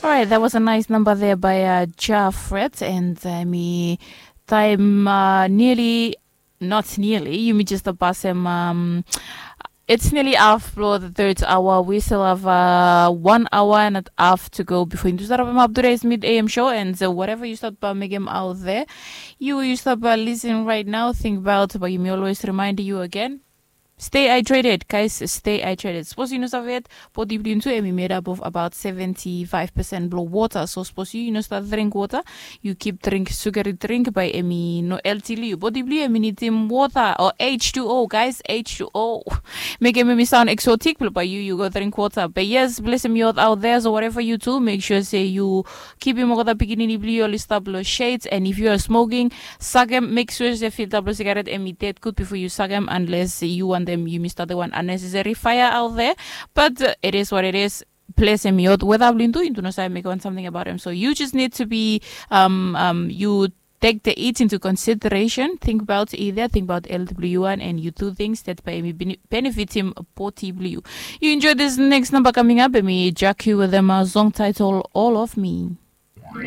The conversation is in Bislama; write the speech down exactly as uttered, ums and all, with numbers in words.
Alright, that was a nice number there by uh, Jafret and uh, mi time uh, nearly not nearly yumi just pasem um, it's nearly half blo the third hour. We still have uh, one hour and a half to go before you start up up today's mid A M show and uh, whatever you start by making out there, you you start by listening right now. Think about but you may always remind you again. Stay hydrated, guys. Stay hydrated. Suppose you know of it, body blue too, and we made up of about seventy-five percent below water. So suppose you, you know, start drink water, you keep drink sugary drink by Emi no L T L U. Body blue, Emi need him water or H two O, guys. H two O. Make Emi sound exotic, but by you, you go drink water. But yes, bless him youth out there. So whatever you do, make sure say you keep him over the beginning. Blue, you only stop below shades. And if you are smoking, suck him. Make sure say filter below cigarette Emi dead good before you suck him, unless you want them, you missed the one unnecessary fire out there. But uh, it is what it is. Bless him youth. Whether blue do, you do not say make one something about him. So you just need to be um um you take the it into consideration. Think about either, think about L W one, and you do things that by me bene- benefit him positively. You enjoy this next number coming up, and me jack you with them a song title All of Me.